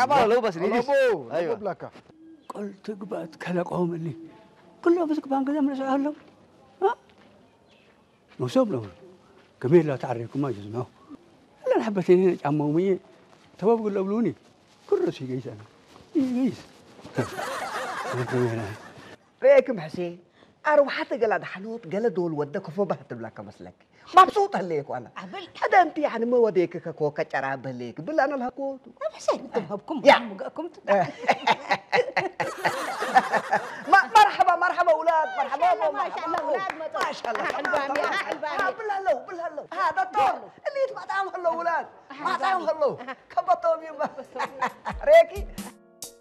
ما لو بس نيجي. أبو، ايوه. أبو بلاكا. قلت قبعت كلا قوم اللي كلها بس كبان كذا من سؤال لهم. ها؟ مصوب لهم. كمية لا تعرفكم ما جزمه. لا نحبتين هنا جمعوا مية. تباب قل أبلوني. كل رأسي قيس أنا. قيس. ሬክ ምሕሴ ኣርባዕተ ገላ ድሓኖት ገለ ዶል ወደ ከፎ ባህ ትብለካ መስለክ። ማብሱጥ ህለየኩ ኣነ። ኣበል። ሓደ እንቲ ያኒ መወደየክ ከኮ ከጨራ በለየክ ብል ኣነ ልሃኮቱ። ኣብ ሕሰን እንተብሃብኩም ያ። ምገእኩም መርሓባ መርሓባ ውላድ መርሓባ ማሻኣላ ውላድ መጡ ማሻላ ኣሕልባም ኣሕልባም ብላለሁ ብላለሁ ዶክተር እሊት ማጣም ከሎ ውላድ ማጣም ከሎ ከበቶም እዩ ሬኪ